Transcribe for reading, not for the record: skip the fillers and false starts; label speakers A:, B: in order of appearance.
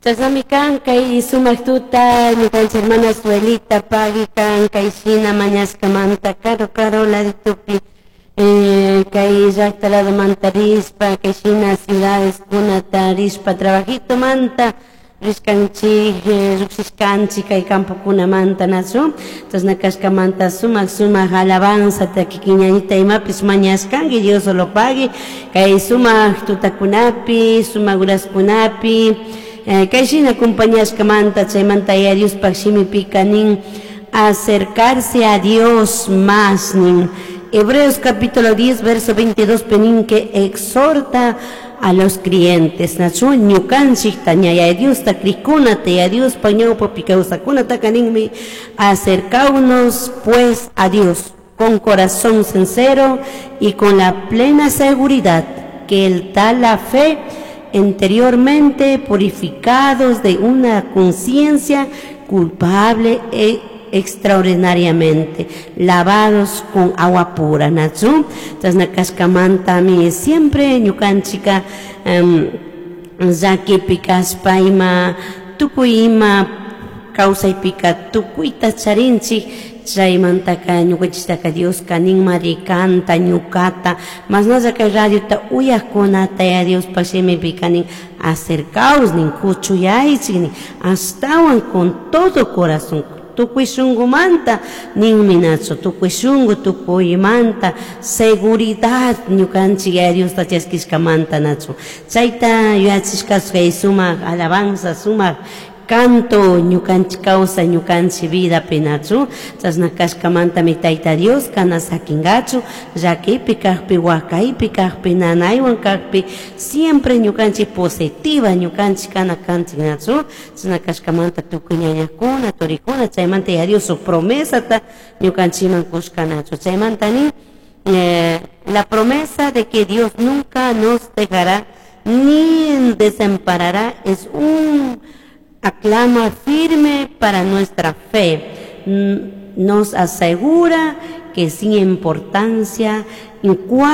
A: Chashnami kan kay sumak tuta ñukanchik hermana Suelita pagui kan kay shina mañashkamanta karu karu laditupi kay llakta ladomanta rishpa kay shina ciudades kunata rishpa trabajitomanta rishkanchik, llukshishkanchik kay campokunamanta, nachu? Chashna kashkamanta sumak sumak alabanzata kikin ñañita imapish mañashkanki, Dios solo pagui kay sumak tutakunapi, sumak horaskunapi kay shina acompañashkamanta. Chaymanta Yaya Diospaj shimipika nin acercarse a Dios más nin. Hebreos capítulo 10 verso 22 pi que exhorta a los creyentes, nachu? Ñukanchikta ña Yaya Diosta crikkunata, Yaya Diospa ñawpapi kawsakkunataka ninmi: "Acercaunos pues a Dios con corazón sincero y con la plena seguridad que Él da la fe, interiormente purificados de una conciencia culpable e extraordinariamente lavados con agua pura", nachu? Chashna kashkamantami siempre ñukanchika llakipi kashpa ima tukuy ima kawsaypika tukuyta charinchik. Chaymantaka ñukanchiktaka Dioska ninmari kanta, ñukata, mashnalla kay radiota uyakkunata Yaya Diospaj shimipika nin: "Acercaos", nin, "kuchuyaychik", nin, ashtawan con todo corazón, tukuy shunkumanta ninmi, nachu? Tukuy shunku, tukuymanta seguridad ñukanchik Yaya Diosta chaskishkamanta, nachu? Chayta yuyachishka kay sumak alabanza, sumak canto ñukanchik kawsay, ñukanchik vidapi, nachu? Chashna kashkamantami Tayta Dioska na sakingachu llakipi kakpi, wakaypi kakpi, nanaywan kakpi. Siempre ñukanchik positiva ñukanchik kana kanchik, nachu? Chashna kashkamanta tukuy ñañakuna, turikuna, chaymanta Yaya Dios shuk promesata ñukanchikman kushka, nachu? Chaymanta nin la promesa de que Dios nunca nos dejará ni desamparará es un ancla firme para nuestra fe. Nos asegura que sin importancia en cuál